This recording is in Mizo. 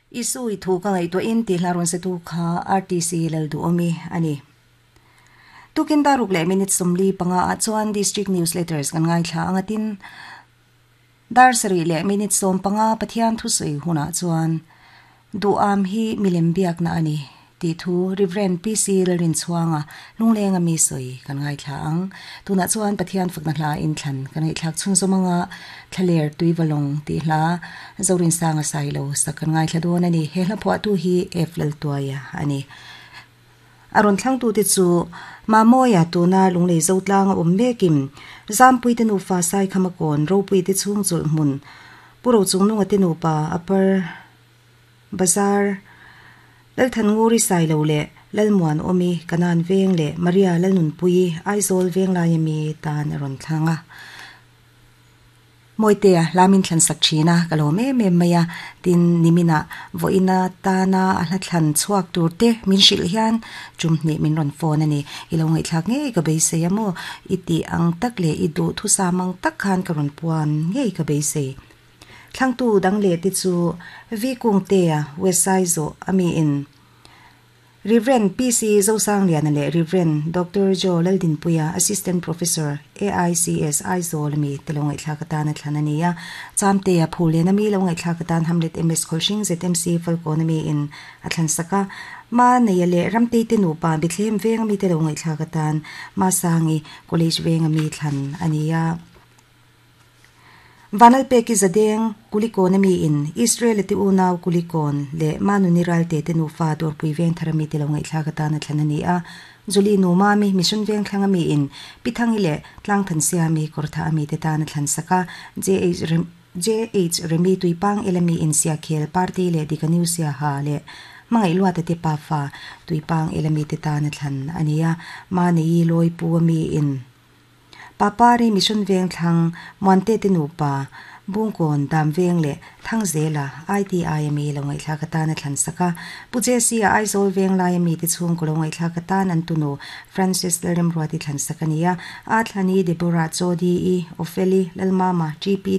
Isu i thu ka ngaihtuahin tih hla rawn setu kha RTC Lalduhawmi a ni. Tukin daruk leh minute 45 ah chuan District Newsletters kan ngaithla ang a tin, dar 7 leh minute 15 Pathian thusawi hunah chuan Duham hi milem biakna a ni tih thu Rev. PC Lalrinchhuanga Lunglenga mi sawi kan ngaithla ang. Tunah chuan Pathian fakna hla inthlan kan ngaihthlak chhunzawm anga Thlaler Tuivalawng tih hla Zorinsanga Sailo sak kan ngaithla dawn a ni. He hla phuahtu hi F Laltuaia a ni. A rawn thlangtute chu Mamawia tuna Lunglei Zotlanga awm mekin Zampuite nufa Saikhama kawn Ropuite chhung chawlh hmun Pu Rochungnunga te nupa Upper Bazar Lalthannguri Sailo leh Lalmuanawmi Kanan Veng leh Maria Lalnunpuii Aizawl Venglaia mi tan a rawn thlang a. Mawitea hla min thlan sak thin a, ka lawm em em mai a, tin niminah vawiina tana a hla thlan chhuak tur te min hrilh hian tum hnih min rawn phone a ni. I lo ngaihthlak ngei ka beisei a maw? I tih ang tak leh i duh thusam ang tak khan ka rawn puan ngei ka beisei. Thlangtu dang leh te chu V Kungtea, West Saizawh a miin Rev. PC Zosangliana leh Rev. Doctor Joe Laldinpuia, Assistant Professor, AICS, Aizawl ami te lo ngaihthlak atan a thlan a ni a. Chamtea Phullen ami lo ngaihthlak atan Hamlet MS Khawlhring ZMC Falkawn ami in a thlan sak a. Ma Neia leh Ramtei te nupa Bethlehem veng ami te lo ngaihthlak atan Masangi College veng ami thlan a ni a. Vanlalpeki Zadeng, Kulikawn a mi in Israel-a te unau Kulikawn leh Manuni Ralte te nufa Dawrpui Vengthar a mi te lo ngaihthlak atan a thlan a ni a. Julie nu Mami, Mission Vengthlang a mi in Pi Thangi leh Tlangthansiami Kawrthah a mi te tan a thlan sak a. JH JH Remi Tuipang El a mi in Siakhel Party leh Dika New Siaha leh Hmangaih Luata te pafa Tuipang El a mi te tan a thlan a ni a. Maneyi Lawipu a mi in Papari Mission Vengthlang, Muante te nupa, Bungkawn, Damveng leh Thangzela, ITI a mi lo ngaihthlak atan a thlan sak a. Pu Jesse-a Aizawl Venglai a mite chhungkaw lo ngaihthlak atan an tunu Francis Lalremruati thlan sak a ni a. A thlani Deborah Chawdi-i, Opheli, Lalmama, GP.